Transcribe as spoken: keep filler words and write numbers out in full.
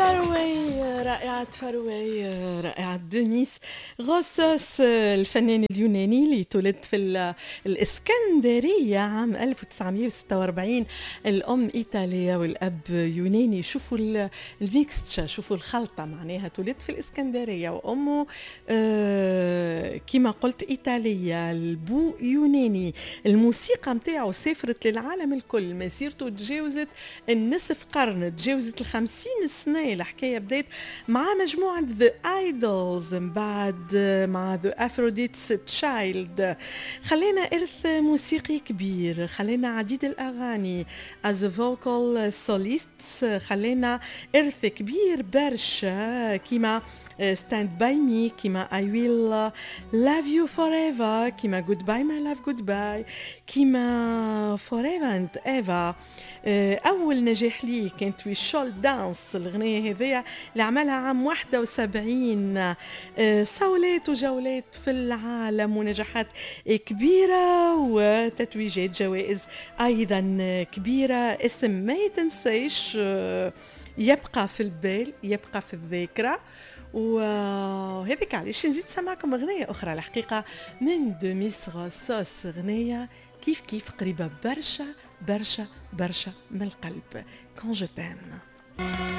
Far Away، رائعة Far Away، رائعة ديميس روسوس، الفنان اليوناني اللي تولد في الإسكندرية عام ألف وتسعمية وستة وأربعين، الأم إيطالية والأب يوناني. شوفوا ال mixture، شوفوا الخلطة، معناها تولد في الإسكندرية وأمه آه، كما قلت إيطالية، البو يوناني. الموسيقى متاعه سافرت للعالم الكل، مسيرته تجاوزت النصف قرن، تجاوزت الخمسين سنة. الحكاية بدأت مع مجموعة The Idols، من بعد مع The Aphrodite's Child. خلينا إرث موسيقي كبير، خلينا عديد الأغاني as a vocal soloist، خلينا إرث كبير برشا كيما Stand by Me، كيما I Will Love You Forever، كيما Goodbye My Love Goodbye، كيما Forever and Ever. أول نجاح ليه كانت We Shall Dance، الأغنية هذيا اللي عملها عام واحد وسبعين. آه، صولات وجولات في العالم ونجاحات كبيرة وتتويجات جوائز أيضا كبيرة. اسم ما يتنساش، آه، يبقى في البال، يبقى في الذاكرة، وهذيك علاش نزيد سمعكم أغنية أخرى الحقيقة من ديميس روسوس، أغنية كيف كيف قريبة برشا برشا برشا من القلب، Quand je t'aime.